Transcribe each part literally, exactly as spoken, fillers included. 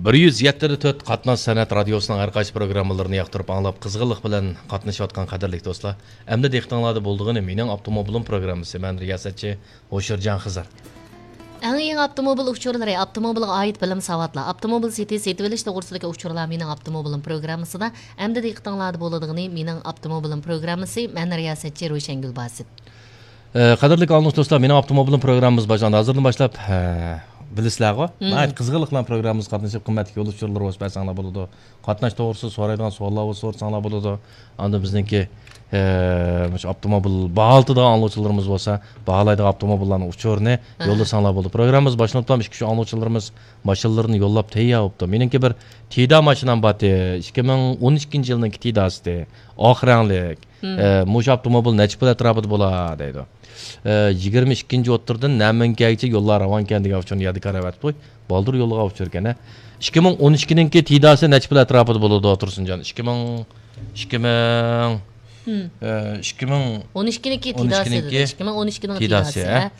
بىر يۈز يەتتە تۆت قاتناش سەنئەت رادىيوسىنىڭ ھەر قايسى پروگراممىلىرىنى ياقتۇرۇپ ئاڭلاپ، قىزغىنلىق بىلەن قاتنىشىۋاتقان قەدىرلىك دوستلار، ئەمدى دىققىتىڭلاردا بولىدىغىنى مېنىڭ ئاپتوموبىلىم پروگراممىسى. مەن رىياسەتچى ھوشۇرجان خىزىر. ئەڭ يېڭى ئاپتوموبىل ئۇچۇرلىرى، ئاپتوموبىلغا ئائىت بىلىم ساۋاتلار، ئاپتوموبىل سېتىش، سېتىۋېلىش توغرىسىدىكى ئۇچۇرلار مېنىڭ ئاپتوموبىلىم پروگراممىسىدا. ئەمدى دىققىتىڭلاردا بولىدىغىنى مېنىڭ ئاپتوموبىلىم پروگراممىسى. مەن رىياسەتچى روشەنگۈل باسىت. ئە، قەدىرلىك ئاڭلىغۇچى دوستلار، مېنىڭ ئاپتوموبىلىم پروگراممىمىز باشلاندى. ھازىردىن باشلاپ، ھە، بىلىسىلەرغۇ، مم، ناھايىتى قىزغىنلىق بىلەن پروگراممىمىزغا قاتنىشىپ، قىممەتلىك يول ئۇچۇرلىرى بولسا بەرسەڭلار بولىدۇ. قاتناش توغرىسىدا سورايدىغان سوئاللار بولسا سورىساڭلار بولىدۇ. ئاندىن بىزنىڭكى، ئە، مۇشۇ ئاپتوموبىل باھالىتىدىغان ئاڭلىغۇچىلىرىمىز بولسا، باھالايدىغان ئاپتوموبىللارنىڭ ئۇچۇرىنى، ئاھا، يوللىساڭلار بولىدۇ. پروگراممىمىز باشلىنىپلا، ئىككى ئۈچ ئاڭلىغۇچىلىرىمىز ماشىنىلىرىنى يوللاپ تەييار بوپتۇ. مېنىڭكى بىر تىدا ماشىنام بارتى، ئىككى مىڭ ئون ئىككىنچى يىلنىڭكى تىداسىتى، ئاق رەڭلىك. مم. ئە، مۇشۇ ئاپتوموبىل نەچچە پۇل ئەتراپىدا بولا دەيدۇ. ئە، يىگىرمە ئىككىنچى ئوتتۇرىدىن نەمىنكەگىچە يوللار راۋانكەن دېگەن ئۇچۇرنى يادىكار ئەۋەتىپتۇ. بالدۇر يولغا ئۇچۇركەن، ھە. ئىككى مىڭ ئون ئىككىنىڭكى تىداسى نەچچە پۇل ئەتراپىدا بولىدۇ، تۇرسۇنجان؟ ئىككى مىڭ، ئىككى مىڭ، مم، ئە، ئىككى مىڭ ئون ئىككىنىڭكى ئون تىداسى ئىككىنىڭكى دېدى. ئىككى مىڭ ئون ئىككىنىڭ تىداسى، تىداسى، ھە. ھە.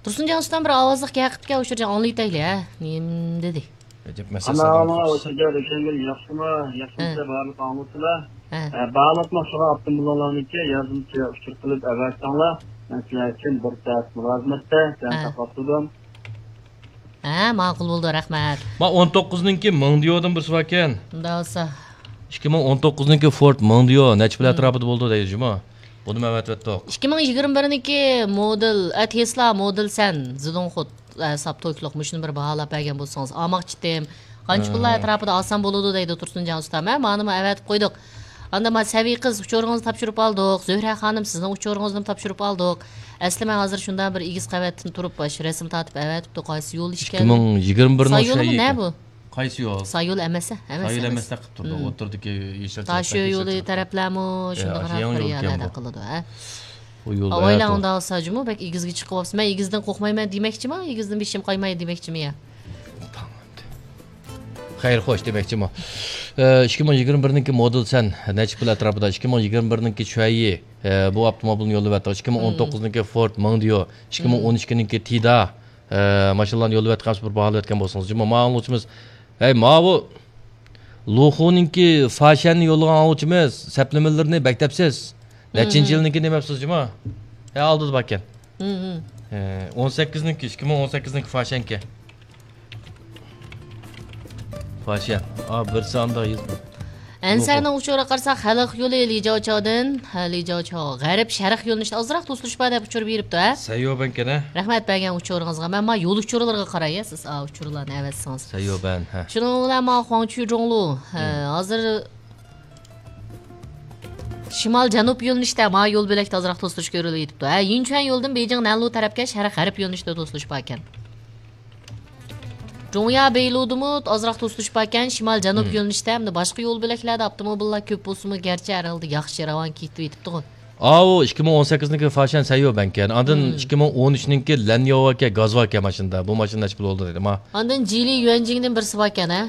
تۇرسۇنجان ئۇستام بىر ئاۋازلىق گەپ قىپتىكەن، ئۇچۇرجان ئاڭلىۋېتەيلى، ھە. نېمە دېدى؟ ئەجەب مەسىلە ئانا سالدىڭىز. ئانا، ئۆتۈنچە رۆشەنگۈل ياخشىمۇ؟ ياخشىمۇ ھە. سىلەر بارلىق ئاڭلىغۇچىلار؟ ھە. ئە، باھالاتماقچىغا ئاپتوموبىلىڭلارنىكى ياردىمچى ئۇچۇر قىلىپ ئەۋەتسەڭلار، مەن سىلەر ئۈچۈن بىر سائەت مۇلازىمەتتە سەن ھە. ساقلاپ تۇردۇم. ھە، ماقۇل بولدى، رەھمەت. ما ئون توققۇزنىڭكى مىڭدىيودىن بىرسى باركەن. مۇنداق بولسا. ئىككى مىڭ ئون توققۇزنىڭكى فورد مىڭدىيو نەچچە پۇل مم. ئەتراپىدا بولىدۇ دەيدۇ جۇمۇ. بۇنىمۇ ئەۋەتىۋەتتۇق. ئىككى مىڭ يىگىرمە بىرنىڭكى مودېل، ئە، تېسلا مودېل سەن، زىدوڭخۇت، ئە، ساپ توكلۇق، مۇشۇنى بىر باھالاپ بەرگەن بولسىڭىز، ئالماقچى ئىدىم. قانچە ھە. پۇللار ئەتراپىدا ئالسام بولىدۇ دەيدۇ تۇرسۇنجان ئۇستام. ھە، مانىمۇ ئەۋەتىپ قويدۇق. ئاندىن ما سەبىي قىز ئۇچۇرىڭىزنى تاپشۇرۇپ ئالدۇق. زۆھرە خانىم، سىزنىڭ ئۇچۇرىڭىزنىمۇ تاپشۇرۇپ ئالدۇق. ئەسلى مەن ھازىر شۇنداق بىر ئېگىز قەۋەتتىن تۇرۇپ، باش رەسىم تارتىپ ئەۋەتىپتۇ. قايسى يول ئىكەن؟ ئىككى مىڭ يىگىرمە بىرنىڭ سايولىمۇ شۇ نە بۇ؟ قايسى يول؟ سايول ئەمەس، ئەمەس، سايول ئەمەس. ئەمەس دەپ قىلىپ تۇردۇق. مم. ئوتتۇرىدىكى يېشىل تا شۇ يولى تەرەپلەرمۇ يا، شۇنداق يېڭى يول ئىكەن بۇ. قىلىدۇ، ھە؟ بۇ يول ئاۋايلار ئۇنداق بولسا جۇمۇ بەك ئېگىزگە چىقىپ قاپسىز. مەن ئېگىزدىن قورقمايمەن دېمەكچىمۇ، ئېگىزدىن بېشىم قايماي دېمەكچىمۇ يا؟ خەير خوش دېمەكچىمۇ. ئە، ئىككى مىڭ يىگىرمە بىرنىڭكى مودېل سەن نەچچە پۇل ئەتراپىدا؟ ئىككى مىڭ يىگىرمە بىرنىڭكى شۈەيى، ئە، بۇ ئاپتوموبىلنى يوللىۋەتتۇق. ئىككى مىڭ ئون توققۇزنىڭكى فورد مىڭدىيو، ئىككى مىڭ ئون ئىككىنىڭكى تىدا، ئە، ماشىنىلارنى يوللىۋەتكەن بىر باھالىۋەتكەن بولسىڭىز جۇمۇ. ماڭا ئاڭلىغۇچىمىز، ھەي، ماۋۇ لۇخۇنىڭكى فاشيەننى يوللىغان ئاڭلىغۇچىمىز، سەپلىمىلىرىنى بەك دەپسىز. نەچچىنچى يىلنىڭكى دېمەپسىز جۇمۇ؟ ھە، ئالدىدا باركەن. ھە، ئون سەككىزنىڭكى، ئىككى مىڭ ئون سەككىزنىڭكى فاشيەنكەن. فاشيەن. ئا، بىرسى ئاندا يېزىپ. ئەنسەرنىڭ ئۇچۇرىغا قارىساق، خەلق يولى لىجاۋچاۋدىن، ھە، لىجاۋچاۋ غەرب شەرق يۆنىلىشىدە ئازراق توسۇلۇش بار دەپ ئۇچۇر بېرىپتۇ، ھە؟ سەييوبەنكەن، ھە؟ رەھمەت بەرگەن ئۇچۇرىڭىزغا. مەن ما يول ئۇچۇرلىرىغا قاراي، ھە، سىز، ئا، ئۇچۇرلارنى ئەۋەتسىڭىز. سەييوبەن، ھە. شۇنىڭ بىلەن ما خۇاڭچۈي جۇڭلۇ، ھە، ھازىر شىمال جەنۇب يۆنىلىشتە ما يول بۆلەكتە ئازراق توسۇلۇش كۆرۈلۈۋېتىپتۇ. ھە، يىنچۈەن يولىدىن بېيجىڭ نەنلۇ تەرەپكە شەرق غەرب يۆنىلىشتە توسۇلۇش باركەن. جۇڭيا بېيلۇدىمۇ ئازراق توسۇلۇش باركەن، شىمال جەنۇب يۆنىلىشتە ھەمدە باشقا يول بۆلەكلەردە ئاپتوموبىللار كۆپ بولسىمۇ، گەرچە ھەر ھالدا ياخشى راۋان كېتىۋېتىپتىغۇ. ئاۋۇ ئىككى مىڭ ئون سەككىزنىڭكى فاشيەن سەييوبەنكەن. ئاندىن ئىككى مىڭ ئون ئۈچنىڭكى لەنياۋاكەن، گازۋاكەن ماشىنىدا. بۇ ماشىنا نەچچە پۇل بولدى دېدى ما. ئاندىن جىلى يۈەنجىڭدىن بىرسى باركەن، ھە؟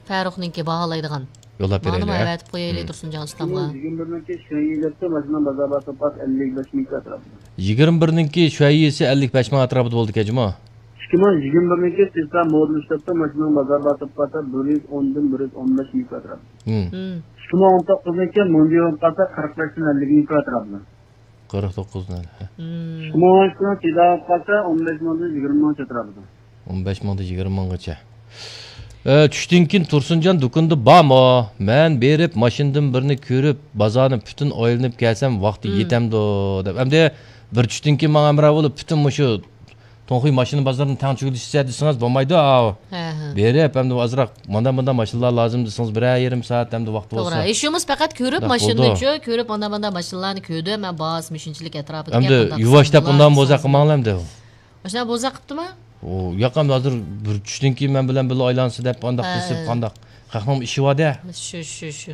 فەرۇقنىڭكى باھالايدىغان. يوللاپ بېرەيلى، مانىمۇ ھە؟ ئەۋەتىپ قويايلى تۇرسۇنجان ئۇستامغا. يىگىرمە بىرنىڭكى شۈەييى دەپتۇ، ماشىنا بازار باھاسى ئەللىك بەش مىڭ ئەتراپىدا. يىگىرمە بىرنىڭكى شۈەييىسى ئەللىك بەش مىڭ ئەتراپىدا بولىدىكەن جۇمۇ. ئىككى مىڭ يىگىرمە بىرنىڭكى تېسلا مودېل ئىشلەپتۇ، ماشىنىنىڭ بازار باھاسى بىر يۈز ئوندىن بىر يۈز ئون بەش مىڭ ئەتراپىدا. ھىم. ھىم. ئىككى مىڭ ئون توققۇزنىڭكى مۇندىيو قارىسا، قىرىق بەشتىن ئەللىك مىڭ ئەتراپىدا. قىرىق توققۇزدىن. ھىم. ئىككى مىڭ ئون ئىككىنىڭ تېدا قارىسا، ئون بەش مىڭدىن يىگىرمە مىڭ ئەتراپىدا. ئون بەش مىڭدىن يىگىرمە مىڭغىچە. ئە، چۈشتىن كېيىن تۇرسۇنجان دۇكىنىدا بارمۇ؟ مەن بېرىپ، ماشىنىدىن بىرنى كۆرۈپ، بازارنى پۈتۈن ئايلىنىپ كەلسەم، ۋاقتى يېتەمدۇ دەپ. ئەمدى بىر چۈشتىن كېيىن ماڭا ھەمراھ بولۇپ، پۈتۈن مۇشۇ توڭخۇي ماشىنا بازىرىنى تەڭ چۈگىلىشىسە دېسىڭىز بولمايدۇ، ئاۋۇ. ھە، ھە. بېرىپ، ئەمدى ئازراق مانا مۇنداق ماشىنىلار لازىم دېسىڭىز، بىرەر يېرىم سائەت ئەمدى ۋاقتى بولسا. توغرا. ئىشىمىز پەقەت كۆرۈپ ماشىنىنىچۇ، كۆرۈپ مانا مۇنداق ماشىنىلارنى كۆردۈم، مەن باھاسى مۇشۇنچىلىك ئەتراپىدىكەن، ئەمدى يۇۋاشتاپ ئۇنداق بولسا قىلماڭلار ئەمدى. ماشىنا بوزەك قىپتىمۇ؟ ئۇ ياق ئەمدى ھازىر بىر چۈشتىن كېيىن مەن بىلەن بىللە ئايلانسا دەپ ئانداق دېسىپ قانداق؟ خەقنىڭ ئىشى بار-دە. شۇ، شۇ، شۇ.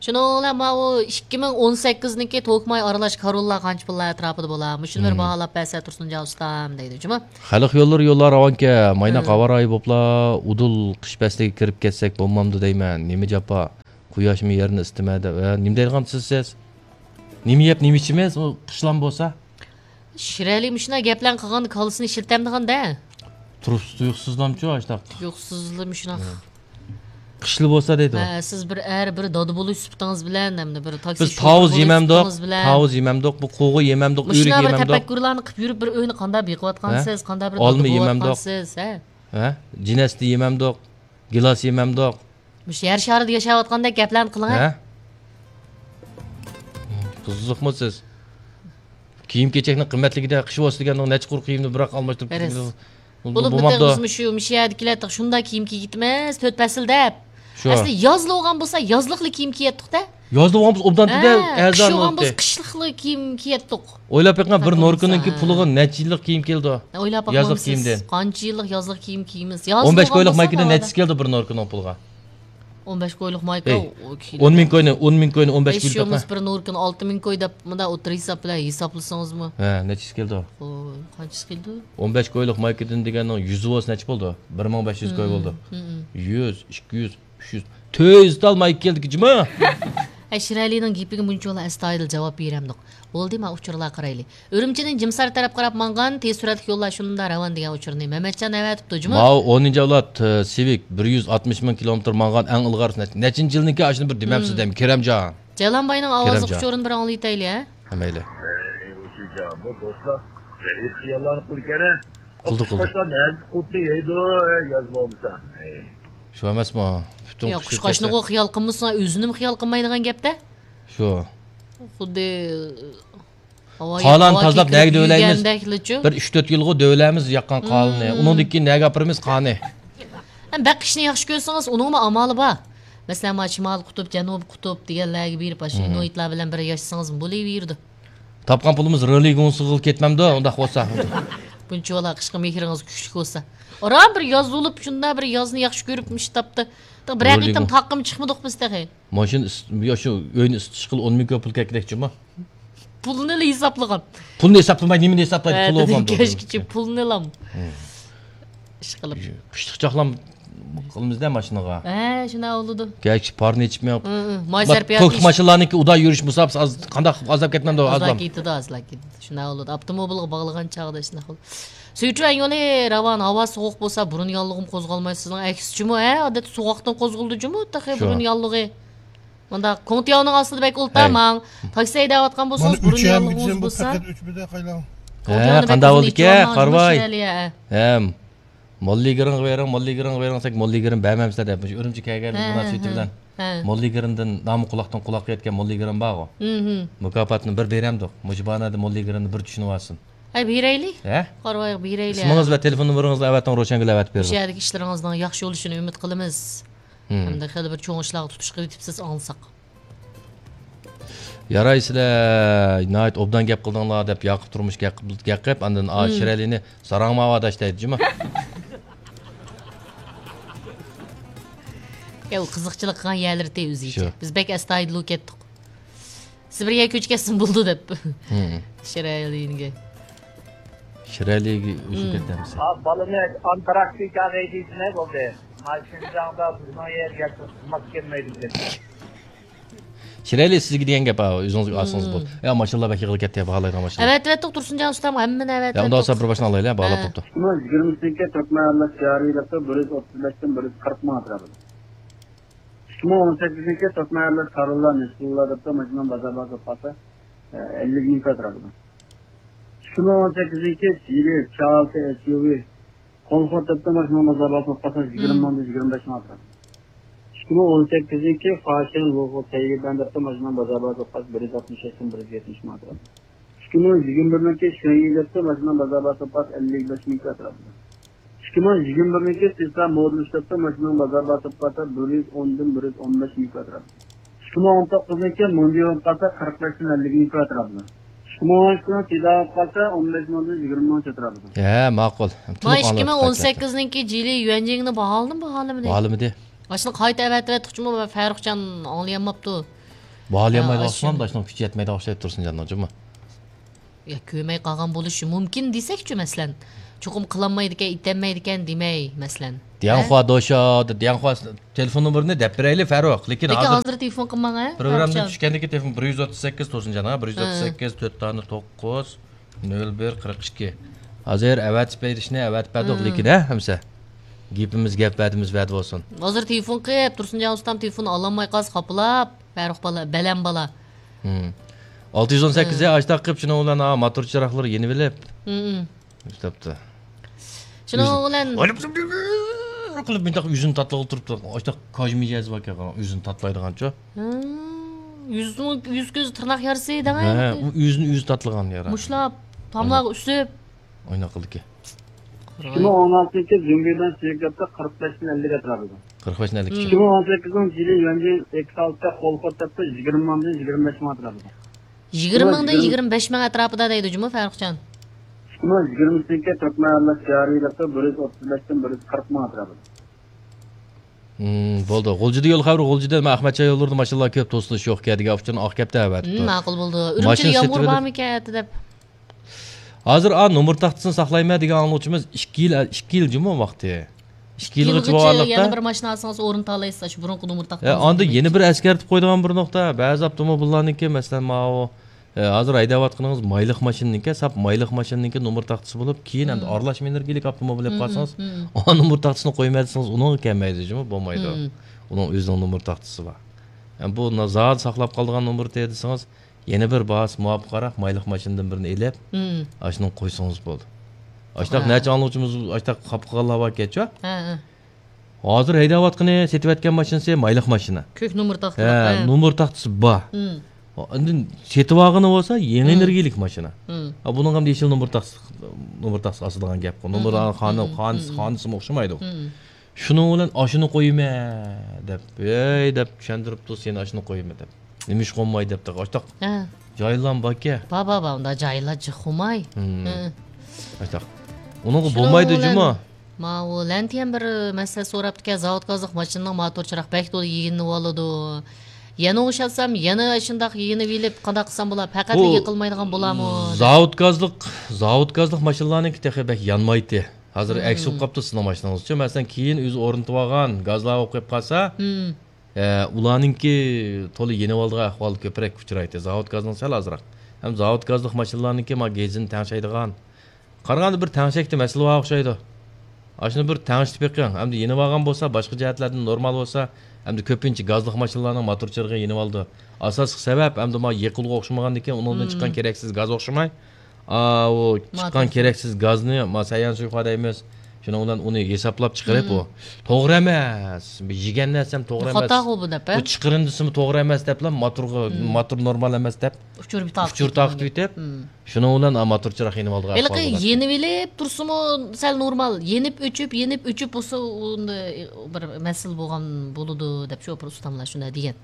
شۇنىڭ بىلەن ماۋۇ ئىككى مىڭ ئون سەككىزنىڭكى توكماي ئارىلاش كاروللا قانچە پۇللار ئەتراپىدا بولا؟ مۇشۇنى بىر باھالاپ بەرسە تۇرسۇنجان ئۇستام دەيدۇ جۇمۇ. خەلق يوللىرى يوللار راۋانكەن، مايناق ھاۋا رايى بوپلا، ئۇدۇل قىش پەسلىگە كىرىپ كەتسەك بولمامدۇ دەيمەن. نېمە جاپا؟ قۇياشمۇ يەرنى ئىسىتىمە دەپ. ھە، نېمە دەيدىغانسىز سىز؟ نېمە يەپ، نېمە ئىچىمىز؟ ئۇ قىشلام بولسا؟ شىرئەلى مۇشۇنداق گەپلەرنى قىلغاندا كاللىسىنى ئىشلىتەمدىغان-دە. تۇرۇپسىز تۇيۇقسىزلامچۇ ئاشتاق؟ تۇيۇقسىزلا مۇشۇنداق. ھە. قىشلا بولسا دەيدۇ. ھە، سىز بىر ئەر، بىر دادا بولۇش سۈپىتىڭىز بىلەن، ھەمدە بىر تاكسى بىز شوپۇرى تاۋۇز بولۇش يېمەمدۇق، سۈپىتىڭىز بىلەن. تاۋۇز يېمەمدۇق، بۇ قوغۇ يېمەمدۇق، مۇشۇنداق ئۆرۈك بىر يېمەمدۇق. تەپەككۇرلارنى قىلىپ يۈرۈپ، بىر ئۆينى قانداق بېقىۋاتقانسىز، ھە؟ قانداق بىر ئالما دادا يېمەمدۇق. بولۇۋاتقانسىز، ھە؟ ھە؟ جىنەستە يېمەمدۇق، گىلاس يېمەمدۇق. مۇشۇ يەر شارىدا ياشاۋاتقاندەك گەپلەرنى قىلىڭ، ھە؟ ھە؟ قىزىقمۇ سىز؟ كىيىم-كېچەكنىڭ قىممەتلىكىدە قىش بولسا دېگەندىڭ نەچچە قۇر كىيىمنى بىراق ئالماشتۇرۇپ بولۇپمۇ، بولمامدۇ؟ مۇشۇ، مۇشۇ يەردىكىلەر شۇنداق كىيىم كىيگىتىمىز، تۆت پەسىل دەپ. شۇ. ئەسلى يازلا بولغان بولسا، يازلىقلا كىيىم كىيەتتۇق-دە. يازلا بولغان بولسا، ئوبدان تېدە ھە، ئەرزان قىش بولغان بولسا، قىشلىقلا كىيىم كىيەتتۇق. ئويلاپ بېقىڭ، بىر نوركىنىڭكى پۇلىغا نەچچە يىللىق كىيىم كېلىدۇ. ئويلاپ باقمامسىز؟ يازلىق كىيىمدىن. قانچە يىللىق يازلىق كىيىم كىيىمىز؟ ياز ئون بەش بولغان كويلۇق بولسا مايكىدىن ناۋادا. نەچچىسى كېلىدۇ بىر نوركىنىڭ پۇلىغا؟ ئون بەش كويلۇق مايكا، ئەي، ئۇ كىلو. ئون مىڭ كوينى، ئون مىڭ كوينى ئون بەش كويلۇق. بىر نوركىنى ئالتە مىڭ كوي دەپ، مۇنداق ئوتتۇرا ھېساب بىلەن ھېسابلىسىڭىزمۇ. ھە، نەچچىسى كېلىدۇ؟ ئوي، قانچىسى كېلىدۇ؟ ئون بەش كويلۇق مايكىدىن دېگەننىڭ يۈزى بولسا نەچچە بولدى؟ بىر مىڭ بەش يۈز كوي بولدى. مم، مم. يۈز، ئىككى يۈز، ئۈچ يۈز، تۆت يۈز تال مايكا كەلدىكى جۇما. ھە، شىرئەلىنىڭ گېپىگە مۇنچىۋالا ئەستايىدىل جاۋاب بېرەمدۇق. بولدى، ما ئۇچۇرلارغا قارايلى. ئۈرۈمچىدىن جىمسار تەرەپ قاراپ ماڭغان تېز سۈرئەتلىك يوللار شۇنداق راۋان دېگەن ئۇچۇرنى مەمەتجان ئەۋەتىپتۇ جۇمۇ. ماۋۇ ئونىنچى ئەۋلاد، ئە، سىۋىك بىر يۈز ئاتمىش مىڭ كىلومېتىر ماڭغان ئەڭ ئىلغار نەچ-، نەچچىنچى يىلنىڭكى ئاشۇنى بىر دېمەمسىز دەيمەن، كېرەمجان. جەيلانباينىڭ ئاۋازلىق ئۇچۇرىنى بىر ئاڭلىتايلى، ھە؟ ھە، مەيلى. ئەي، ئۇشۇ جامۇ دوستلار، غەيىب خىياللارنى قىلىدىكەن، ھە؟ قىلدى، قۇش قىلدى. قۇشقاچلار نەدە قۇتنى يەيدۇ، ھە، ياز بولمىسا. ئەي. شۇ ئەمەسمۇ؟ پۈتۈن ياق، قۇشقاچنىغۇ خىيال قىلمىسىڭ، ئۆزىنىمۇ خىيال قىلمايدىغان گەپتە. شۇ. خۇددى ھاۋا، قالانى ھاۋا تازىلاپ نەگە دۆۋىلەيمىز؟ بىر ئۈچ تۆت يىلغۇ دۆۋىلەيمىز ياققان قالىنى. ئۇنىڭدىن كېيىن نەگە ئاپىرىمىز قانى؟ ھەم بەك قىشنى ياخشى كۆرسىڭىز، ئۇنىڭمۇ ئامالى بار. مەسىلەن، ما شىمالىي قۇتۇپ، جەنۇبىي قۇتۇپ دېگەنلەرگە بېرىپ، ئاشۇ ئىنۇيتلار بىلەن بىر ياشىسىڭىز بولۇۋېرىدۇ. تاپقان پۇلىمىز رېلى گۇڭسىغا كەتمەمدۇ، ئۇنداق بولسا؟ بۇنچىۋالا قىشقا مېھرىڭىز كۈچلۈك بولسا. ئاران بىر ياز بولۇپ، شۇنداق بىر يازنى ياخشى كۆرۈپ مۇشۇ تاپتا. بىرەر قېتىم تاققىمۇ چىقمىدۇق بىز تېخى. ماشىنا ئىس-، يا شۇ ئۆينى ئىسسىتىش ئىشقىلى ئون مىڭ كوي پۇل كەتكۈدەكچىما؟ پۇلنى ئېلى ھېسابلىغان. پۇلنى ھېسابلىماي، نېمىنى ھېسابلايدۇ؟ پۇل بولغان بولدى. كەچكىچە پۇلنى ئېلام. ئىشقىلىپ. قىشلىق چاقلام قىلىمىزدە ماشىنىغا. ھە، شۇنداق بولىدۇ. كەچ پارنى ئېچىپ مېڭىپ. ماي سەرپىياتى. توك ماشىنىلارنىڭكى ئۇدا يۈرۈش مۇساپىسى ئاز، قانداق ئازلاپ كەتمەمدۇ؟ ئازلاپ كېتىدۇ، ئازلاپ كېتىدۇ. شۇنداق بولىدۇ. ئاپتوموبىلغا باغلىغان چاغدا شۇنداق بولىدۇ. سۈيتۈەن يولى راۋان، ھاۋا سوغۇق بولسا، بۇرۇن ياللۇغىمۇ قوزغالماي، سىزنىڭ ئەكسىچىمۇ، ھە، ئادەتتە سوغۇقتىن قوزغىلىدۇ جۇمۇ، تېخى بۇرۇن ياللۇغى. مۇنداق كوڭتياۋنىڭ ئاستىدا بەك ئولتۇرماڭ. تاكسى ھەيدەۋاتقان بولساڭىز، بۇرۇن ياللۇغىڭىز بولسا. ھە، قانداق بولدىكەن، قارىۋاي. ھەم موللىگىرىڭغا بېرىڭ، موللىگىرىڭغا بېرىڭ دېسەك، موللىگىرىم بەرمەمسىلەر دەپ، مۇشۇ ئۈرۈمچى كەلگەن مۇناسىۋىتى بىلەن موللىگىرىمدىن نامى قۇلاقتىن قۇلاققا يەتكەن موللىگىرىم بارغۇ. مۇكاپاتنى بىر بېرەمدۇق. مۇشۇ باھانەدە موللىگىرىمنى بىر چۈشىنىۋالسۇن. ھەي، بېرەيلى. ھە؟ قارىۋايلى، بېرەيلى. ئىسمىڭىز ۋە تېلېفون نومۇرىڭىزنى ئەۋەتىڭ، روشەنگۈل ئەۋەتىپ بېرىدۇ. مۇشۇ يەردىكى ئىشلىرىڭىزنىڭ ياخشى بولۇشىنى ئۈمىد قىلىمىز. ھەمدە خېلى بىر چوڭ ئىشلارغا تۇتۇش قىلىۋېتىپسىز، ئاڭلىساق. ياراي، سىلەر ناھايىتى ئوبدان گەپ قىلدىڭلار، دەپ ياقۇپ تۇرمۇش گەپ قىپ، گەپ قىپ، ئاندىن ئا، شىرئەلىنى ساراڭ ماۋۇ ئاداش دەيدۇ جۇمۇ. يا، ئۇ قىزىقچىلىق قىلغان يەرلىرى تى ئۆزىچە. شۇ. بىز بەك ئەستايىدىل بولۇپ كەتتۇق. سىبىرگە كۆچۈپ كەتسىمۇ بولىدۇ دەپ. شىرئەلىنىگە. شىرئەلىگە ئۆچۈپ كەتتى ھەممىسى. ھا، بالىنى ئانتاركتىكاغا ھەيدەيسىلەر بولدى. ما شىنجاڭدا بىزنىڭ يەرگە خىزمەت كەلمەيدۇ دېدى. شىرئەلى سىزگە دېگەن گەپ، ھا، ئۆزىڭىزگە ئالسىڭىز بولدى. يا، ماشىنىلار بەك يىغىلىپ كەتتى، باھالايدىغان ماشىنىلار. ئەۋەتىۋەتتۇق، تۇرسۇنجان ئۇستام، ھەممىنى ئەۋەتىۋەتتۇق. يا، ئۇنداق بولسا بىر ماشىنا ئالايلى، باھالاپ بوپتۇ. ئىككى مىڭ يىگىرمىسىنىڭكى تۆت مەھەللە شارى دەپتۇ، بىر يۈز ئوتتۇز بەشتىن بىر يۈز قىرىق مىڭ ئەتراپىدا. ئىككى مىڭ ئون سەككىزنىڭكى تۆت مەھەللە كارلا، نېسىللا دەپتۇ، ماشىنىنىڭ بازار باھاسى بولۇپ قالسا، ئەللىك مىڭ ئەتراپىدا. ئىككى مىڭ ئون سەككىزنىڭكى جىلى، چالتە، ئېسيۇۋى، كولخود دەپتۇ، ماشىنىنىڭ بازار باھاسى بولۇپ قالسا، يىگىرمە مىڭدىن يىگىرمە بەش مىڭ ئەتراپىدا. ئىككى مىڭ ئون سەككىزنىڭكى فاشىن، لوغۇ، تەيگىدەن دەپتۇ، ماشىنىنىڭ بازار باھاسى بولۇپ قالسا، بىر يۈز ئاتمىش بەشتىن بىر يۈز يەتمىش مىڭ ئەتراپىدا. ئىككى مىڭ يىگىرمە بىرنىڭكى شۈەنيى دەپتۇ، ماشىنىنىڭ بازار باھاسى بولۇپ قالسا، ئەللىك بەش مىڭ ئەتراپىدا. ئىككى مىڭ يىگىرمە بىرنىڭكى سىسا مودېل ئۈچ دەپتۇ، ماشىنىنىڭ بازار باھاسى بولۇپ قالسا، بىر يۈز ئوندىن بىر يۈز ئون بەش مىڭ ئەتراپىدا. ئىككى مىڭ ئون توققۇزنىڭكى موندىيو بولۇپ قالسا، قىرىق بەشتىن ئەللىك مىڭ ئەتراپىدا. ئىككى مىڭ ئون ئىككىنىڭ تىدا بولۇپ قالسا، ئون بەش مىڭدىن يىگىرمە مىڭ ئەتراپىدا. ھە، ماقۇل. ما ئىككى مىڭ ئون سەككىزنىڭكى جىلى يۈەنجىڭنى باھالىدىمۇ، باھالىمىدى؟ باھالىمىدى. ئاشۇنى قايتا ئەۋەتىۋەتتۇقچىمۇ، فەرۇخجان ئاڭلىيالماپتۇ. باھالىيالمايدىغان ئوخشايدۇ، ئاشۇنىڭ كۈچى يەتمەيدىغان ئوخشايدۇ تۇرسۇنجاننىڭ جۇمۇ. يا، كۆرمەي قالغان بولۇشى مۇمكىن دېسەكچۇ، مەسىلەن، چوقۇم قىلالمايدىكەن، ئېتەلمەيدىكەن دېمەي، مەسىلەن. دياڭخۇا دوشا، دياڭخۇا تېلېفون نومۇرىنى دەپ بېرەيلى، فاروق. لېكىن، لېكىن ھازىر، ھازىر تېلېفون قىلماڭ، ھە، پروگراممىدىن چۈشكەندىكى تېلېفون بىر يۈز ئوتتۇز سەككىز، تۇرسۇنجان، ھە، بىر يۈز ئوتتۇز سەككىز، تۆت دانە توققۇز، نۆل بىر، قىرىق ئىككى. ھازىر ئەۋەتىپ بېرىشنى ئەۋەتىپ بەردۇق، لېكىن، ھە، ھەمسە. گېپىمىز گەپ، ۋەدىمىز ۋەدە بولسۇن. ھازىر تېلېفون قىلىپ، تۇرسۇنجان ئۇستام تېلېفون ئالالماي قالسا خاپىلاپ، فەرۇخ بالا، بەلەم بالا. ھىم. ئالتە يۈز ئون سەككىز ھە. ئاشتاق قىلىپ، شۇنىڭ بىلەن، ھا، ماتور چىراغلىرى يېنىۋېلىپ. ھىم. ئىشلەپتۇ. شۇنىڭ بىلەن قىلىپ، مۇنداق يۈزىنى تاتلىغىلى تۇرۇپتۇ. ئاشتاق كاج مىجەزى باركەن، يۈزىنى تاتلايدىغانچۇ. ھىم. يۈزنىڭ، يۈز كۆز تىرناق يارىسى دەڭە. ھە، ئۇ يۈزىنى ئۆزى تاتلىغان يارا. مۇشلاپ، تاملارغا ئۈسۈپ. ئويناق قىلدىكى. ئىككى مىڭ ئون ئالتىنچى يىل زۇڭگىدان سىيەكەپتە قىرىق بەشتىن ئەللىك ئەتراپىدا. قىرىق بەشتىن ئەللىك. ھىم. ئىككى مىڭ ئون سەككىزىنچى يىلى يۈەنجىن ئېكسالتە قولخورتەپتە يىگىرمە مىڭدىن يىگىرمە بەش مىڭ ئەتراپىدا. يىگىرمە مىڭدىن يىگىرمە بەش مىڭ ئەتراپىدا دەيدۇ جۇمۇ، فەرۇخجان. ئىككى مىڭ يىگىرمىسىنىڭكى تۈركمەن ئەرلەر شىئارى يىللىقتا بىر يۈز ئوتتۇز بەشتىن بىر يۈز قىرىق مىڭ ئەتراپىدا. ھىم، بولدى. غۇلجىدا يول خەۋىرى، غۇلجىدا مەن ئەخمەتجان يوللىرىدا ماشىنىلار كۆپ، توسۇلۇش يوق ئىكەن دېگەن ئۇچۇرنى ئاق كەپتە ئەۋەتىپتۇ. ھىم، ماقۇل بولدى. ئۈرۈمچىدە ماشىنا يامغۇر سېتىۋېلىپ بارمىكەن ئەتە دەپ. ھازىر، ئا، نومۇر تاختىسىنى ساقلايمەن دېگەن ئاڭلىغۇچىمىز ئىككى يىل، ئىككى يىل جۇمۇ ۋاقتى. ئىككى يىلغىچە بولغانلىقتا، يەنە بىر ماشىنا ئالسىڭىز ئورۇن تالايسىز، ئاشۇ بۇرۇنقى نومۇر تاختىڭىز. ئاندىن يەنە بىر ئەسكەرتىپ قويىدىغان بىر نۇقتا، بەزى ئاپتوموبىللارنىڭكى، مەسىلەن، ماۋۇ، ئە، ھازىر ھەيدەۋاتقىنىڭىز مايلىق ماشىنىنىڭكى، ساپ مايلىق ماشىنىنىڭكى نومۇر تاختىسى بولۇپ، كېيىن ئەمدى ئارىلاش ئېنېرگىيەلىك ئاپتوموبىل ئېلىپ قالسىڭىز، ئا نومۇر تاختىسىنى قويماي دېسىڭىز، ئۇنىڭغا كەلمەيدۇ جۇمۇ، بولمايدۇ. ئۇنىڭ ئۆزىنىڭ نومۇر تاختىسى بار. ئەمدى بۇ زادى ساقلاپ قالىدىغان نومۇرى دېسىڭىز، يەنە بىر باھاسى مۇۋاپىقراق مايلىق ماشىنىدىن بىرنى ئېلىپ، ئاشۇنى قويسىڭىز بولدى. ئاشتاق نەچچە ئاڭلىغۇچىمىز ئاشتاق خاپا قىلغانلار باركەنچۇ؟ ھە، ھە. ھازىر ھەيدەۋاتقىنى، سېتىۋەتكەن ماشىنىسى مايلىق ماشىنا. كۆك نومۇر تاختىلىق، ھە، ھە. نومۇر تاختىسى بار. ئاندىن سېتىۋالغىنى بولسا يېڭى ئېنېرگىيەلىك ماشىنا. ھە، بۇنىڭ ھەم يېشىل نومۇر تاختىسى، نومۇر تاختىسى ئاسىدىغان گەپقۇ. نومۇر خانىسىمۇ ئوخشىمايدۇ. شۇنىڭ بىلەن ئاشۇنى قويىمەن دەپ، ھەي دەپ چۈشەندۈرۈپ تۇرسا، يەنە ئاشۇنى قويىمەن دەپ. نېمە ئىش قويماي دەپ، ئاشتاق جاھىللارمۇ باركەن. بار، بار، بار، ئۇنداق جاھىللار جىق قويماي. ئاشتاق. ئۇنىڭغا بولمايدۇ جۇمۇ. ماۋۇ لەنتىيەم بىر مەسىلە سوراپتىكەن، زاۋۇت گازلىق ماشىنىنىڭ ماتور چىراغ بەك تولا يېنىۋالىدۇ. يەنە ئوخشاتسام، يەنە ئاشۇنداق يېنىۋېلىپ، قانداق قىلسام بولا، پەقەتلا يېقىلمايدىغان بولامۇ دەپ. زاۋۇت گازلىق، زاۋۇت گازلىق ماشىنىلارنىڭكى تېخى بەك يانمايتتى. ھازىر ئەكس بولۇپ قاپتۇ سىزنىڭ ماشىنىڭىزچۇ. مەسىلەن، كېيىن ئۆزى ئورنىتىۋالغان گازلار بولۇپ قېلىپ قالسا، ئە، ئۇلارنىڭكى تولا يېنىۋالىدىغان ئەھۋال كۆپرەك ئۇچرايتتى. زاۋۇت گازنىڭ سەل ئازراق. ھەم زاۋۇت گازلىق ماشىنىلارنىڭكى ما گېزىنى تەڭشەيدىغان. قارىغاندا بىر تەڭشەكتە مەسىلە بار ئوخشايدۇ. ئاشۇنى بىر تەڭشىتىپ بېقىڭ. ئەمدى يېنىۋالغان بولسا، باشقا جەھەتلەردىن نورمال بولسا، ئەمدى كۆپىنچە گازلىق ماشىنىلارنىڭ ماتور چىرىغى يېنىۋالىدۇ. ئاساسلىق سەۋەب ئەمدى ما يېقىلغۇ ئوخشىمىغاندىكىن ئۇنىڭدىن چىققان كېرەكسىز گاز ئوخشىماي. ئاۋۇ چىققان كېرەكسىز گازنى، ما، سەييان سۇيخا دەيمىز. شۇنىڭ بىلەن ئۇنى ھېسابلاپ چىقىرىپ، ئۇ توغرا ئەمەس. بىر يېگەن نەرسەم توغرا ئەمەس. خاتا بۇ دەپ، ھە؟ بۇ چىقىرىندىسىمۇ توغرا ئەمەس دەپلا، ماتورغا، ماتور نورمال ئەمەس دەپ ئۇچۇر تارقىتىۋېتىپ، شۇنىڭ بىلەن، ئا، ماتور چىراغ يېنىۋالىدىغان ئەھۋال بولاتتى. ھېلىقى يېنىۋېلىپ تۇرسىمۇ سەل نورمال. يېنىپ ئۆچۈپ، يېنىپ ئۆچۈپ بولسا، ئۇندا بىر مەسىلە بولغان بولىدۇ دەپ شوپۇر ئۇستاملار شۇنداق دېگەن.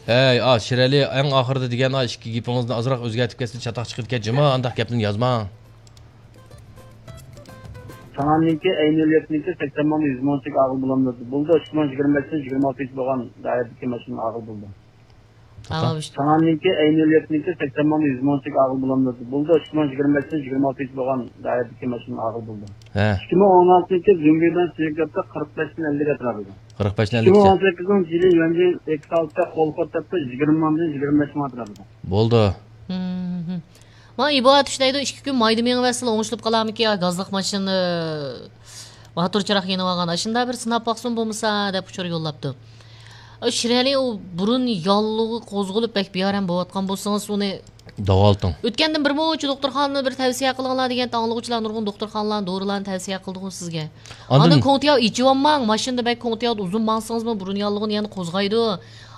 ھەي، ئا، شىرئەلى، ئەڭ ئاخىرىدا دېگەن، ئا، ئىككى گېپىڭىزنى ئازراق ئۆزگەرتىپ كەتسە چاتاق چىقىدىكەن، جۇمۇ، ئانداق گەپنى يازماڭ. تاڭاننىڭكى ئەي نۆل يەتتىنىڭكى سەكسەن مىڭدىن يۈز مىڭچىگە ئاغىل بولامدۇ؟ بولدى، ئىككى مىڭ يىگىرمە بەشتىن يىگىرمە ئالتە بولغان دائىرىدىكى ماشىنا ئاغىل بولدى. تاڭاننىڭكى ئەي نۆل يەتتىنىڭكى سەكسەن مىڭدىن يۈز مىڭچىگە ئاغىل بولامدۇ؟ بولدى، ئىككى مىڭ يىگىرمە بەشتىن يىگىرمە ئالتە بولغان دائىرىدىكى ماشىنا ئاغىل بولدى. ھە. ئىككى مىڭ ئون ئالتىنىڭكى زۇڭگىدان سىيەكەپتە قىرىق بەشتىن ئەللىك ئەتراپىدا. قىرىق بەشتىن ئەللىك. ئىككى مىڭ ئون سەككىزىنچى يىلى يۈەنجىن ئېكسالتە قولخورتەپتە يىگىرمە مىڭدىن يىگىرمە بەش مىڭ ئەتراپىدا. بولدى. ھىم، ھىم. ما ئىبو ئاتۇش دەيدۇ، ئىككى كۈن مايدا مېڭىۋەرسىلا ئوڭشىلىپ قالارمىكىن يا گازلىق ماشىنا، ماتور چىراغ يېنىۋالغان، ئاشۇنداق بىر سىناپ باقسۇن بولمىسا دەپ ئۇچۇر يوللاپتۇ. ئۇ شىرئەلى ئۇ بۇرۇن ياللۇغى قوزغىلىپ بەك بىئارام بولۇۋاتقان بولسىڭىز ئۇنى داۋالىتىڭ. ئۆتكەندىن بىر مۇنچە دوختۇرخانىنى بىر تەۋسىيە قىلىڭلار دېگەن ئاڭلىغۇچىلار نۇرغۇن دوختۇرخانىلارنى، دورىلارنى تەۋسىيە قىلدىغۇ سىزگە. ئاندىن ئاندىن كوڭتىياۋ ئېچىۋالماڭ، ماشىنىدا بەك كوڭتىياۋدا ئۇزۇن ماڭسىڭىزمۇ بۇرۇن ياللۇغىنى يەنە قوزغايدۇ.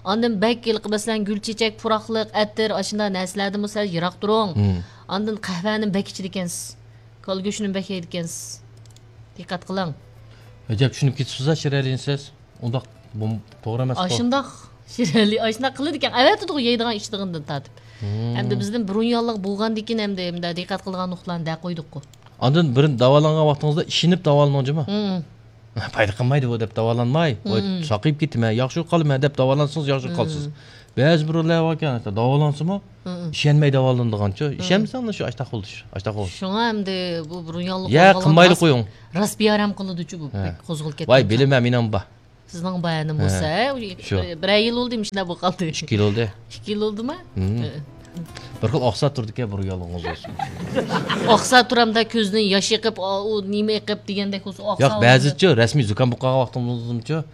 ئاندىن بەك ھېلىقى مەسىلەن گۈل چېچەك، پۇراقلىق، ئەتىر، ئاشۇنداق نەرسىلەردىنمۇ سەل يىراق تۇرۇڭ. ھىم. ئاندىن قەھۋەنىمۇ بەك ئىچىدىكەنسىز. كالا گۆشىنىمۇ بەك يەيدىكەنسىز. دىققەت قىلىڭ. ئەجەب چۈشىنىپ كېتىپسىز-ھە شىرئەلىنى سىز. ئۇنداق بۇ توغرا ئەمەسقۇ. ئاشۇنداق شىرئەلى ئاشۇنداق قىلىدىكەن. ئەۋەتىدىغۇ يەيدىغان ئىچىدىغىنىدىن تارتىپ. ھىم. ئەمدى بىزدىن بۇرۇن ياللىق بولغاندىكىن ئەمدى، ئەمدى دىققەت قىلىدىغان نۇقتىلارنى دەپ قويدۇققۇ. ئاندىن بىر داۋالانغان ۋاقتىڭىزدا ئىشىنىپ داۋالىنىڭ جۇمۇ. ھىم. پايدا قىلمايدۇ بۇ دەپ داۋالانماي، ۋاي، ساقىيىپ كېتىمەن، ياخشى بولۇپ قالىمەن دەپ داۋالانسىڭىز ياخشى بولۇپ قالىسىز. بەزى بىرەرلەر باركەن، داۋالانسىمۇ ئىشەنمەي داۋالىنىدىغانچۇ. ئىشەنمىسەڭ شۇ ئاشتاق بولدى، ئاشتاق بولدى. شۇڭا ئەمدى بۇ بۇرۇن ياللۇق يا قىلمايلى قويۇڭ. راست بىئارام قىلىدۇچۇ بۇ، بەك قوزغىلىپ كەتكەن. ۋاي، بىلىمەن، مېنىڭ بار. سىزنىڭ بار ئەنە بولسا، ھە، شۇ. بىرەر يىل بولدى مۇشۇنداق بولۇپ قالدى. ئىككى يىل بولدى. ئىككى يىل بولدىما؟ ھە. بىر خىل ئاقسا تۇرىدىكەن، بۇرۇن يالغۇز بولسۇن. ئاقسا تۇرامدا كۆزدىن ياش ئېقىپ، ئا، ئۇ نېمە ئېقىپ دېگەندەك بولسا، ئاقسا ياق، بەزىچۇ رەسمىي زۇكام بولۇپ قالغان ۋاقتىمىزچۇ،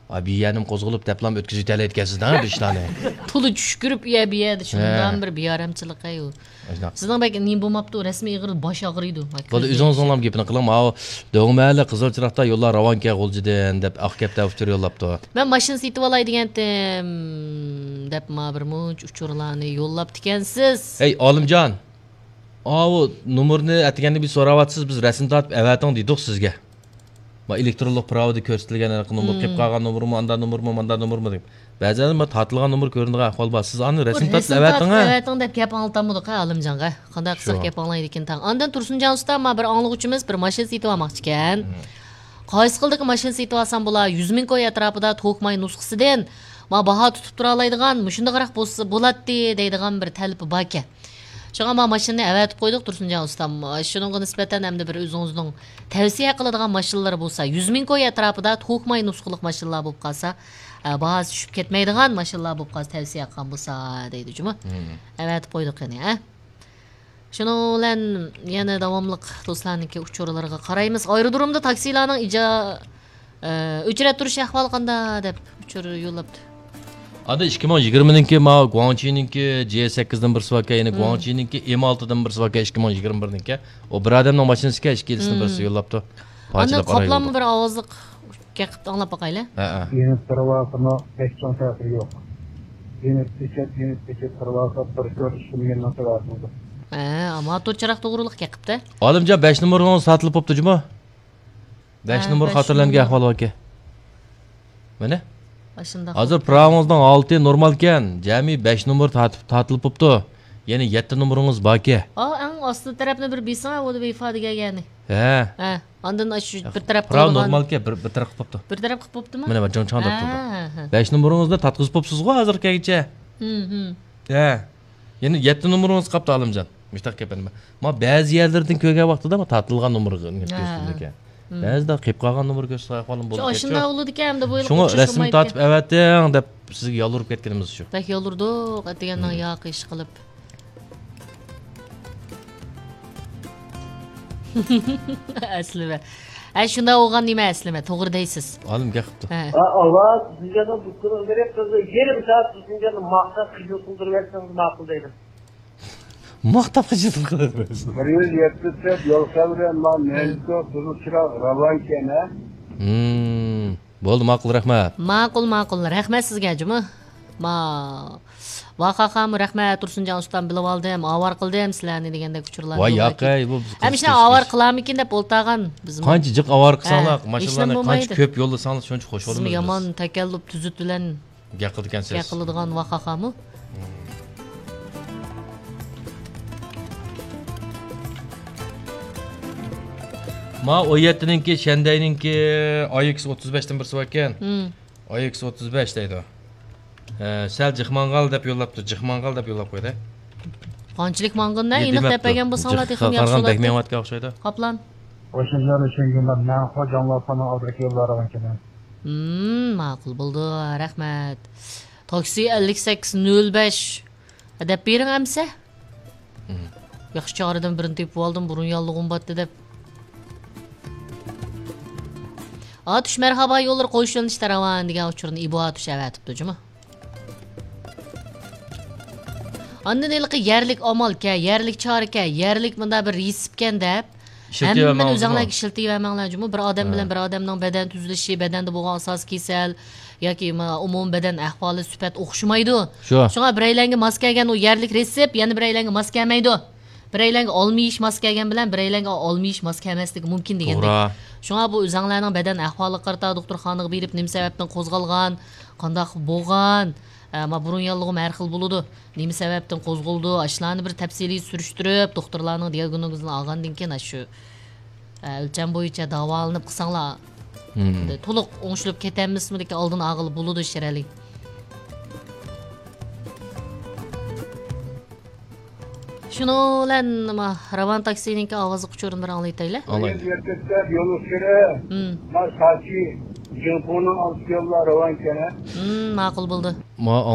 ئا، بىيەنىم قوزغىلىپ دەپلام ئۆتكۈزۈۋېتەلەيدىكەنسىز-دە بىر ئىشلارنى. تولا چۈشكۈرۈپ يە بىيەدە شۇنداق بىر بىئارامچىلىق-ھەي ئۇ. ئاشۇنداق. سىزنىڭ بەك نېمە بولماپتۇ، رەسمىي ئېغىر باش ئاغرىيدۇ. بولدى، ئۆزىڭىزنىڭلام گېپىنى قىلىڭ. ماۋۇ دۆڭمەھەللە قىزىل چىراغدا يوللار راۋانكەن غۇلجىدىن دەپ ئاق كەپتە ئۇچۇر يوللاپتۇ. مەن ماشىنا سېتىۋالاي دېگەنتىم دەپ ما بىر مۇنچە ئۇچۇرلارنى يوللاپتىكەنسىز. ھەي، ئالىمجان! ئاۋۇ نومۇرنى ئەتىگەندە بىر سوراۋاتىسىز، بىز رەسىم تارتىپ ئەۋەتىڭ دېدۇق سىزگە. ما ئېلېكترونلۇق پىراۋىدا كۆرسىتىلگەن ھېلىقى نومۇر، قېلىپ قالغان نومۇرمۇ، ئاندا نومۇرمۇ، ماندا نومۇرمۇ دەپ. بەزىدە ما تارتىلغان نومۇر كۆرۈنىدىغان ئەھۋال بار. سىز ئانى رەسىم تارتىپ ئەۋەتىڭ، ھە. ئەۋەتىڭ دەپ گەپ ئاڭلىتالمىدۇق، ھە، ئالىمجانغا. قانداق قىلساق گەپ ئاڭلايدىكىن تاڭ. ئاندىن تۇرسۇنجان ئۇستا، ما بىر ئاڭلىغۇچىمىز بىر ماشىنا سېتىۋالماقچىكەن. قايسى خىلدىكى ماشىنا سېتىۋالسام بولا؟ يۈز مىڭ كوي ئەتراپىدا توكماي نۇسخىسىدىن، ما باھا تۇتۇپ تۇرالايدىغان، مۇشۇنداقراق بولسا بولاتتى دەيدىغان بىر تەلىپى باركەن. شۇڭا ما ماشىنىنى ئەۋەتىپ قويدۇق، تۇرسۇنجان ئۇستام. شۇنىڭغا نىسبەتەن ئەمدى بىر ئۆزىڭىزنىڭ تەۋسىيە قىلىدىغان ماشىنىلىرى بولسا، يۈز مىڭ كوي ئەتراپىدا توكماي نۇسخىلىق ماشىنىلار بولۇپ قالسا، ئە، باھاسى چۈشۈپ كەتمەيدىغان ماشىنىلار بولۇپ قالسا تەۋسىيە قىلغان بولسا دەيدۇ جۇمۇ. ئەۋەتىپ قويدۇق يەنە، ھە؟ شۇنىڭ بىلەن يەنە داۋاملىق دوستلارنىڭكى ئۇچۇرلىرىغا قارايمىز. ئايرودرومدا تاكسىلارنىڭ ئىجا-، ئە، ئۆچرەت تۇرۇش ئەھۋالى قانداق دەپ ئۇچۇر يوللاپتۇ. ئاندىن ئىككى مىڭ يىگىرمىنىڭكى ماۋۇ گۇاڭچىنىڭكى جي سەككىزدىن بىرسى باركەن، يەنە گۇاڭچىنىڭكى ئېم ئالتىدىن بىرسى باركەن، ئىككى مىڭ يىگىرمە بىرنىڭكى. ئۇ بىر ئادەمنىڭ ماشىنىسىكەن، ئىككىلىسىدىن بىرسى يوللاپتۇ. ئاندىن قاپلانما بىر ئاۋازلىق گەپ قىپتۇ، ئاڭلاپ باقايلى. ھەئە. يېنىپ تۇرۇۋاتىمۇ، ھېچ چوڭ تەسىرى يوق. يېنىپ كېچىپ، يېنىپ كېچىپ تۇرۇۋاتىپ، بىر كۆرۈشكىنىمنىڭ تەۋەسىدە. ھە، موتور چىراغ توغرۇلۇق گەپ قىپتۇ. ئالىمجان، بەش نومۇرىڭىز ساتىلىپ بوپتۇ جۇمۇ؟ بەش نومۇر خاتىرىلەنگەن ئەھۋال باركەن. مانا. ئاشۇنداق ھازىر بولۇپتۇ. پىراۋىڭىزنىڭ ھالىتى نورمالكەن. جەمئىي بەش نومۇر تارتىپ، تارتىلىپ بوپتۇ. يەنە يەتتە نومۇرىڭىز باركەن. ئا، ئەڭ ئاستى تەرەپنى بىر بېسىڭ، ئۇ ۋېيفا دېگەن يەرنى. ھە. ھە. ئاندىن ئاشۇ بىر تەرەپ پىراۋ قىلىدىغان. نورمالكەن، بىر، بىر تەرەپ قىلىپ بوپتۇ. بىر تەرەپ قىلىپ بوپتۇمۇ؟ مانا، بىر جىڭ چاڭ تارتىلىدۇ. ھە، ھە، ھە. بەش نومۇرىڭىزنى تارتقۇزۇپ بوپسىزغۇ ھازىرغىچە. ھە. يەنە يەتتە نومۇرىڭىز قاپتۇ، ئالىمجان. مۇشتاق گەپ ئەمدى. ما بەزى يەرلەردىن كۆرگەن ۋاقتىدا ما تارتىلغان نومۇر كۆرسىتىلىدىكەن. بەزىدە قېلىپ قالغان نومۇر كۆرسىتىدىغان ئەھۋالىم بولىدىكەن. شۇنداق بولىدىكەن، ئەمدى بۇ يىل شۇڭا رەسىم تارتىپ ئەۋەتىڭ دەپ سىزگە يالۋۇرۇپ كەتكىنىمىز شۇ. بەك يالۋۇردۇق، ئەتىگەننىڭ ياقى ئىش قىلىپ. ئەسلىمە. ھە، شۇنداق بولغان نېمە ئەسلىمە، توغرا دەيسىز. ئالىم گەپ قىپتۇ. ھە. ھە، ئاۋاز، سىزگە بۇ كۈننىڭ بىرى قىزى يېرىم سائەت سىزگە ماختاپ خىجىل قىلدۇرۇۋەتسىڭىز ماقۇل دەيدۇ. ماختاپ خىجىل قىلدۇرۇۋەتسىڭىز. بىر يۈز يەتمىش دەپ يول سەۋرى، ما نەنجۇ، قىزىل چىراغ راۋانكەن، ھە؟ ھىم. بولدى، ماقۇل، رەھمەت. ماقۇل، ماقۇل. رەھمەت سىزگە جۇمۇ. ما، ۋاخاخامۇ رەھمەت، تۇرسۇنجان ئۇستام بىلىۋالدىم، ئاۋارە قىلدىم سىلەرنى دېگەندەك ئۇچۇرلار. ۋاي ياقەي، بۇ قىز ھەمىشە ئاۋارە قىلارمىكىن دەپ ئولتۇرغان بىزمۇ. قانچە جىق ئاۋارە قىلساڭلار، ھە، ماشىنىلارنى قانچە كۆپ يوللىساڭلار شۇنچە خۇش بولىمىز بىز. يامان تەكەللۇپ تۈزۈت بىلەن گەپ قىلىدىكەنسىز. گەپ قىلىدىغان ۋاخاخامۇ. ما ئون يەتتىنىڭكى، شەندەينىڭكى ئاي ئېكس ئوتتۇز بەشتىن بىرسى باركەن. ئاي ئېكس ئوتتۇز بەش دەيدۇ. ھە، سەل جىق ماڭغال دەپ يوللاپتۇ. جىق ماڭغال دەپ يوللاپ قويدى. قانچىلىك ماڭغىنىنى ئېنىق دەپ بەرگەن بولساڭلار تېخىمۇ ياخشى بولاتتى. بەك مېڭىۋاتقان ئوخشايدۇ. قاپلان. ئوشۇنچە چۈشەنگەن مەن، خوجاملار ساڭا ئازراق يوللار ئەۋەتكەن. ھىم، ماقۇل بولدى، رەھمەت. تاكسى ئەللىك سەككىز نۆل بەش دەپ بېرىڭ ئەمسە. ياخشى چارىدىن بىرنى تېپىۋالدىم، بۇرۇن ياللۇغۇم باتتى دەپ. ئاتۇش مەرھابا، يوللار قويۇش يۆنىلىشتە راۋان دېگەن ئۇچۇرنى ئىبو ئاتۇش ئەۋەتىپتۇ جۇمۇ. ئاندىن ھېلىقى يەرلىك ئامالكەن، يەرلىك چارىكەن، يەرلىك مۇنداق بىر رېتسېپكەن دەپ، ھەممىنى ئۆزۈڭلارگە ئىشلىتىۋەرمەڭلار جۇمۇ. بىر ئادەم بىلەن بىر ئادەمنىڭ بەدەن تۈزۈلۈشى، بەدەندە بولغان ئاساسىي كېسەل ياكى ما-، ئومۇمىي بەدەن ئەھۋالى، سۈپەت ئوخشىمايدۇ. شۇ. شۇڭا بىرەيلەنگە ماس كەلگەن ئۇ يەرلىك رېتسېپ، يەنە بىرەيلەنگە ماس كەلمەيدۇ. بىرەيلەنگە ئالمىيىش ماس كەلگەن بىلەن بىرەيلەنگە ئالمىيىش ماس كەلمەسلىكى مۇمكىن دېگەندەك. توغرا. شۇڭا بۇ ئۆزەڭلارنىڭ بەدەن ئەھۋالىغا قارىتا دوختۇرخانىغا بېرىپ، نېمە سەۋەبتىن قوزغالغان، قانداق بولغان، ئە، ما بۇرۇن ياللۇغۇم ھەر خىل بولىدۇ. نېمە سەۋەبتىن قوزغىلىدۇ؟ ئاشۇلارنى بىر تەپسىلىي سۈرۈشتۈرۈپ، دوختۇرلارنىڭ دىئاگنوزىنى ئالغاندىن كېيىن، ئاشۇ، ئە، ئۆلچەم بويىچە داۋالىنىپ قىلساڭلار، مم، تولۇق ئوڭشىلىپ كېتەلمىسىمۇ، لېكىن ئالدىنى ئالغىلى بولىدۇ شىرەلى. شۇنىڭ بىلەن، ما، راۋان تاكسىنىڭكى ئاۋازلىق ئۇچۇرىنى بىر ئاڭلايتايلى. ئاڭلايلى. يەتكەچكە يول ئۇچۇرى، مم، ما، ساچى، جىڭپۇنىڭ ئالدى يوللار راۋانكەن. مم، ماقۇل بولدى. ما،